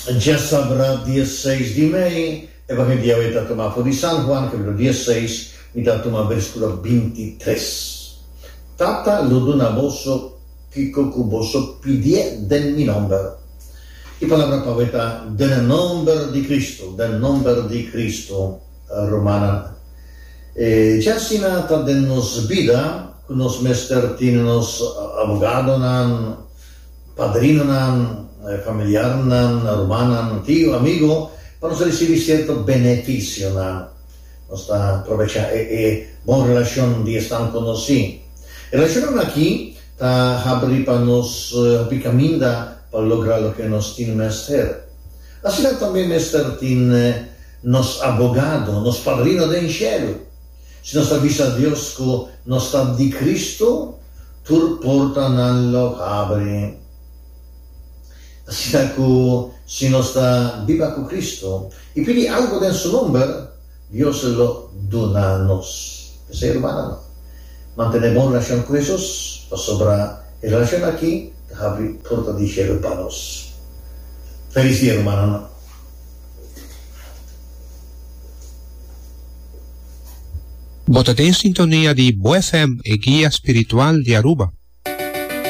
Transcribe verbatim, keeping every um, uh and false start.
Djasabra dia seis di mei, Evangelio di awe ta tuma for di San Juan, capítulo diesseis, mi ta tuma versículo binti tres. Tata lo duna boso kiko ku boso pidié den mi nomber. E palabra pa awe ta den nomber di Cristo, den nomber di Cristo, rumannan. E djasina ta den nos bida ku nos mester tin nos abogadonan, padrinonan, familiarnan, rumannan, tio, amigo, pa nos ricibi cierto beneficionan. Nos ta probecha e e bon relacion di esnan conoci. E relacionnan aki ta habri pa nos hopi caminda pa logra loke nos tin mester. Asina tambe mester tin nos abogado, nos padrino den cielo. Si nos ta bisa Dios cu nos ta di Cristo, tur portanan lo habri. Asina cu si nos ta biba cu Cristo y pidi algo den su nomber, Dios lo duna nos. P'esei, hermananan, mantene bon relacion cu Jesus, pasobra e relacion aki ta habri porta di cielo pa nos. Feliz dia, hermananan. Bo ta den sintonia di Bo F M, e guia spiritual di Aruba.